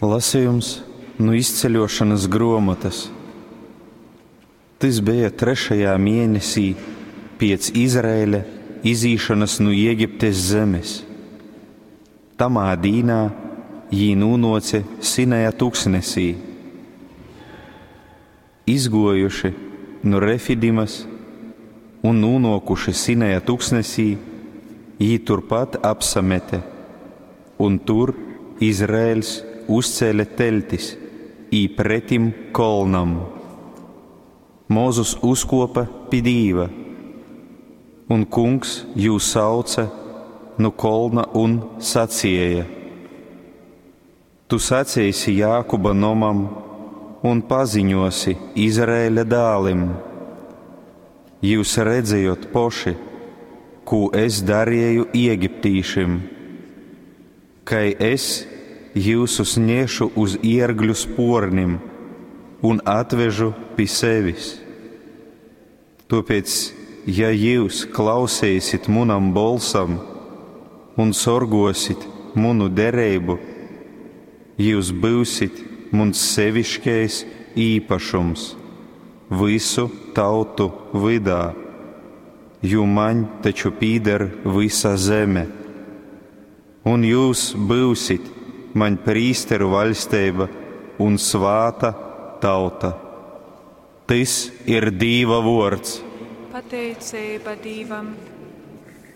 Lasejums nu Izceļošonas gruomotys. Tys beja trešajā mienesī piec Izraeļa izīšonys nu Jegiptes zemes. Tamā dīnā jī nūnuoce Sinaja tuksnesī. Izguojuši nu Refidimas un nūnuokuši Sinaja tuksnesī, jī turpat apsamete, un tur Izraeļs uzcēle teļtis īpretim kolnam. Mozus uzkuopa pi Dīva, un Kungs jū sauce nu kolna un sacieja: Tu saceisi Jākuba nomam un paziņosi Izraēļa dālim: Jius redzējot poši, kū es darieju Egiptīšim, kai es jiusus nešu uz iergļu spuornim un atvežu pi sevis. Tuopēc, ja jius klauseisit munam bolsam un sorguosit munu dereibu, jius byusit muns seviškais īpašums vysu tautu vydā, jo maņ taču pīder vysa zeme. Un jūs byusit maņ prīsteru vaļsteiba un svāta tauta. Tys ir Dīva vuords. Pateiceiba Dīvam.